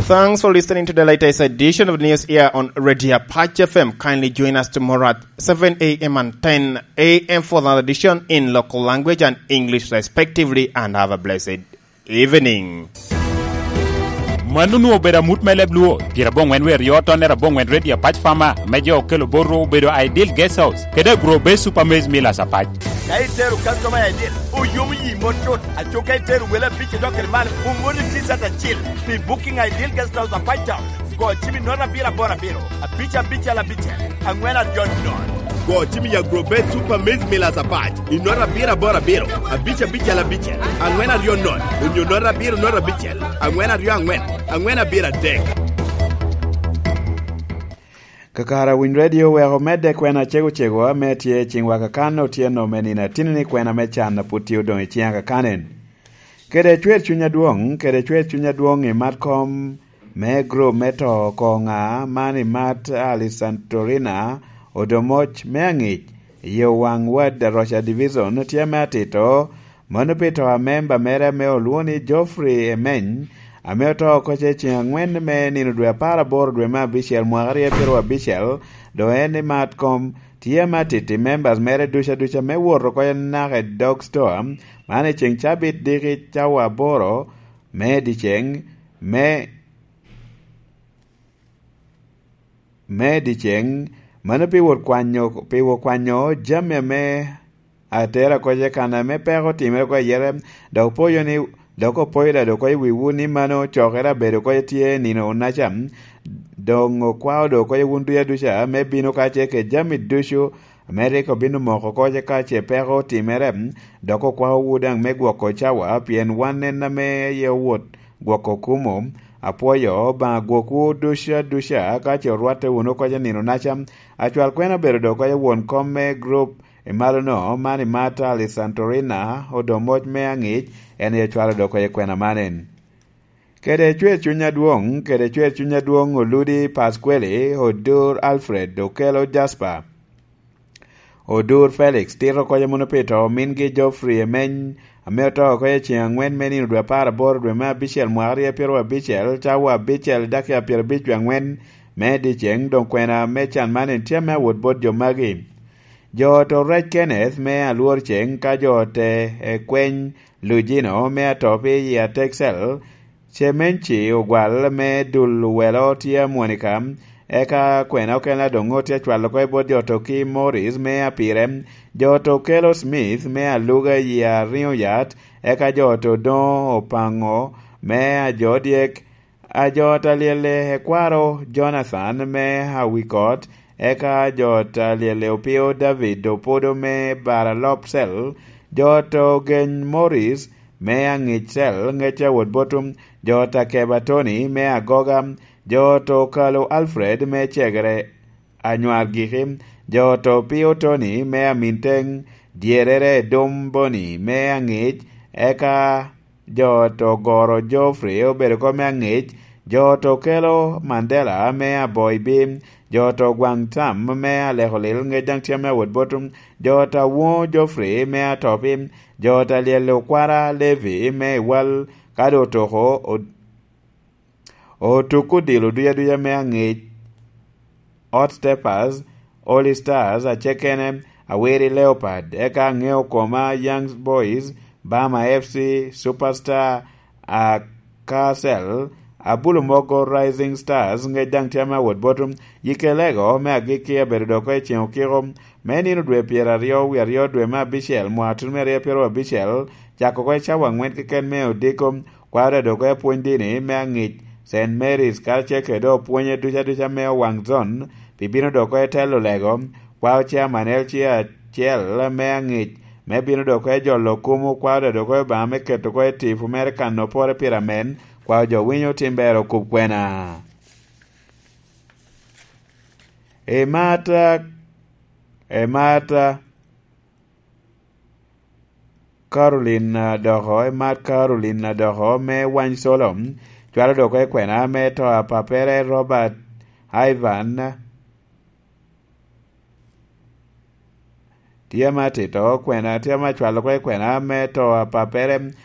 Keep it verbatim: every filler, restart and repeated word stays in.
Thanks for listening to the latest edition of news here on Radio Apache F M. Kindly join us tomorrow at seven a m and ten a m for another edition in local language and English respectively, and have a blessed evening. Mano onwoŋo obedo amut me leb Luo, pyerabongwen wie aryo tonnere abongwen Radio Apache F M, me jo okelo botwu obedo Ideal Guest House, kede Agro Base Super Maize Millers Apac. Ka itero customer I D, oyomo yi mot tut. Aco ka itero wele abic i dok kede malo, oŋolli T-shirt acil pi Booking Ideal Guest House Apac Town. Go cim i note abiro aboro abiro, abic abicel abicel, aŋwen aryo nono. Go cim i Agrobet Super Maize Millers Apac i note abiro aboro abiro, abic abicel abicel, aŋwen aryo nono, onyo note abiro note abicel, aŋwen aryo aŋwen, aŋwen abiro adek. Kakare Winy Radio oweko omedde kwena cego cego ame tye i ciŋwa kakan otyeno me nino atini ni kwena me can a put tye odoŋ i ciŋa kakan en. Kede cwer cuny adwoŋ, kede cwer cuny adwoŋ i mat kom me grup me to oko ŋa man i mat Alisantorina Odomoc me aŋic i Owaŋ Wad Aroca Division tye me atito. Mano pi to a memba mere ame olwoŋo ni Geoffrey Emeny, ame oto oko ce ceŋ aŋwen me nino dwe apar aboro dwe me abicel mwaka aryo pyeraryo abicel, doŋ en i mat kom tye ame atiti members mere ducu aduca me wot oko naka i dog stoa, man i ceŋ cabit diki cawa aboro me dyeceŋ, me me dyeceŋ, mano pi wot kwanyo, pi wot kwanyo jami ame atera oko ce kan ame peko otimere oko ayere, dok opoyo ni, dok opoyo dado oko i wiwu ni mano cokere abedo oko tye nino onaca, doŋ okwao do oko wun duca duca me bino ka ce ke jami ducu ame rik obino moko oko ce ka ce peko otimere, dok okwaowu daŋ me gwoko cawa, pien wan en ame aye owot gwoko kumo. Apwoyo Obaŋa gwokwu duca duca ka ce orwatte wunu oko ce nino naca. Acwal kwena obedo do oko ce won kom me grup i malo-no, man i mat Alisantorina Odomoc me aŋic, en aye cwalo do oko ce kwena man en. Kede cwer cuny adwoŋ, kede cwer cuny adwoŋ Oludi Pasqueli, Odur Alfred, Okelo Jasper, Odur Felix, tito oko ce munu pi to omingi Geoffrey Emeny, ame oto oko i ceŋ aŋwen me nino dwe apar aboro dwe me abicel mwaka aryo pyeraryo abicel, cawa abicel dakika pyerabic wie aŋwen me dyeceŋ, doŋ kwena me can man en tye ame awot bot jo magi. Jo oto Rec Kenneth me Alwor Ceŋ ka jo ote ekweny Lujino me Atopi i Atexel, Cemenci Ogwal me Dul Welo tye Amwonika, eka kwena okene adoŋo tye acwalo oko i bot jo oto ki Morris me Apire, jo oto Kelo Smith me Aluga i Ariŋo Yat, eka jo oto Doŋo Opaŋo me Ajodyek, Ajot Alyelle Ekwaro Jonathan me Awikot, eka ajot Alyelle Opio David Opodo me Baralopsel, jot Ogeny Morris me Aŋicel, Ŋecca wot Botum, jot Akeba Tony me Agoga, jot Okalo Alfred me Cegere Anywar Giki, jot Opio Tony me Aminteng, dyerere Dom Boni me Aŋic, eka jo oto Goro Geoffrey obedo oko me Aŋic, jo oto Kelo Mandela me Aboibi, jo oto Gwaŋ Tam me Alekolil, Ŋec daŋ tye me Awot Botum, jo oto Awuŋo Geoffrey me Atopi, jo oto Alyel Okwara Levi me Iwal, ka doŋ otoko od-, otuko odilo duca duca me Aŋic, Hot Steppers, All Stars, Acekene, Awiri Leopard, eka aŋeo koma Young Boys, Bama F C, Superstar, Akasel, Abulo Mogo Rising Stars, Ŋec daŋ tye ame awot bot Yikelego me agikki abedo dok oko i ceŋ okiko me nino dwe pyeraryo wie aryo dwe me abicel mwaka tutumia aryo pyeraryo abicel, cako oko i cawa aŋwen keken me odiko, kwao dok oko i apwony dini me aŋic Saint Mary's karacel kede dok opwonye duca duca me Owaŋ Zon, pi bino dok oko i telo lego, kwao chairman L C acel me aŋic, me bino dok oko i jolo kumo, kwao dok oko i Obaŋa me keto oko i tipo mere kan opore pire amen, kwao jo winyo tim ber okub kwena. Emata, emata, Caroline Adoko, emat Caroline Adoko me Wany Solo, cwalo dok oko i kwena me to a papere Robert Ivan, tye ma tito kwena, tye ma cwalo oko i kwena me to a papere Robert